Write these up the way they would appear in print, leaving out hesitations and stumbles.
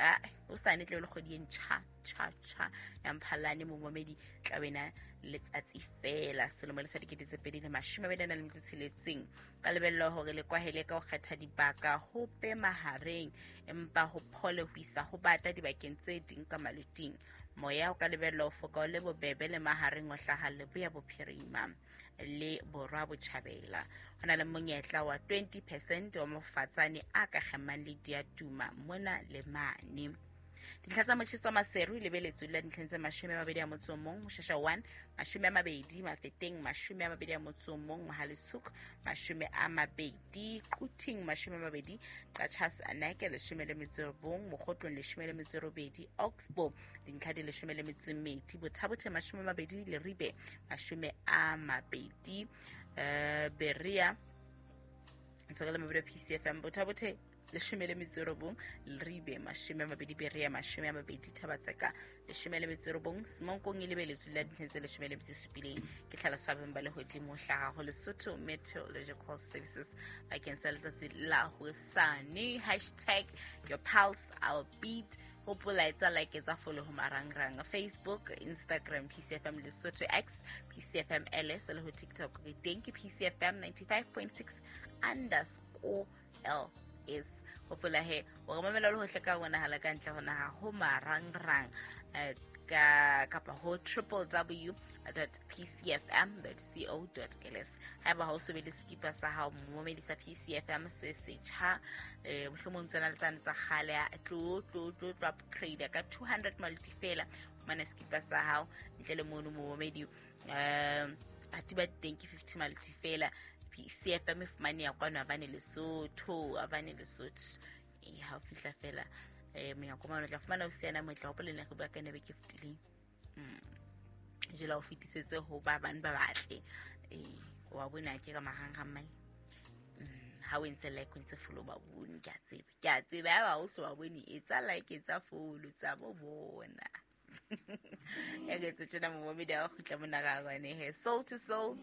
Ka hosane tle le kgwedi e ntjha tjha tjha ya Mphalane, momamedi, tla bena letsatsi fela selemo le sa 2026. Ka lebellwa hore le kwahele ka ho kgetha dibaka ho pe mahareng, empa ho phole ho isa ho bata dibakeng tse ding ka maloting. Moya o ka lebellwa ho foka o le bobebe le mahareng, o hlaha leboya bophirima le borwa botjhabela. Ho na le monyetla wa 20% wa mofatsane a ka kgemang le diatuma mona le mane. Dintlha tsa motjheso wa Maseru e lebeletswe la dintlheng tse 21, Moshasha 1 20, Mafeteng 21, Mohale'shoek 20, Quthing 20, Qacha's Nek 19, Mokhotlong 18, Oxbow dintlha di 12, Botha-Bothe 20, Leribe 20, Berea ntshokela mabedi PCFM, Botha-Bothe 19, Leribe 20, Berea 20, Thabatseka 19, Semonkong e lebeletswe la dintlheng tse 17. Ke tlhaloso ya beng ba lehodimo hlaha ho Lesotho Meteorological Services bakeng sa letsatsi la hosane. Hashtag your pulse our beat. Hopola, etsa like, etsa follow ho marangrang: Facebook, Instagram PCFM Lesotho, X PCFM LS, le ho TikTok re teng ke PCFM 95.6_LS. Hopola he o re mamela le hohle ka bonahala ka ntle ho naha ho marangrang ka kapa ho www.pcfm.co.ls. Haeba ha o so be le skipa sa hao, momamedi, sa PCFM se setjha, mohlomong tsona le tsane tsa kgale, tlo tlo tlo tlo upgrade ka 200 maloti fela, fumana skipa sa hao. Ntle le mono, momamedi, atiba teng ke 50 maloti fela. PCFM e fumaneha kwano abane Lesotho, abane Lesotho. E ha o fihla fela monyako mane, o tla fumana o siana motle. Hopola ne re bua ka nebe ke fetileng. Jela o fetisetse ho ba bang ba batle wa bona ke ka marangrang mane. Ha o entse like, o ntse follow, ba bone. Ke a tseba, ke a tseba ya ba o so ba bone. Etsa like, etsa follow tsa bo bona. Ya ke tse tjena, momamedi, a kgutla mona ga bane he. Soul to Soul,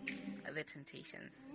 The Temptations.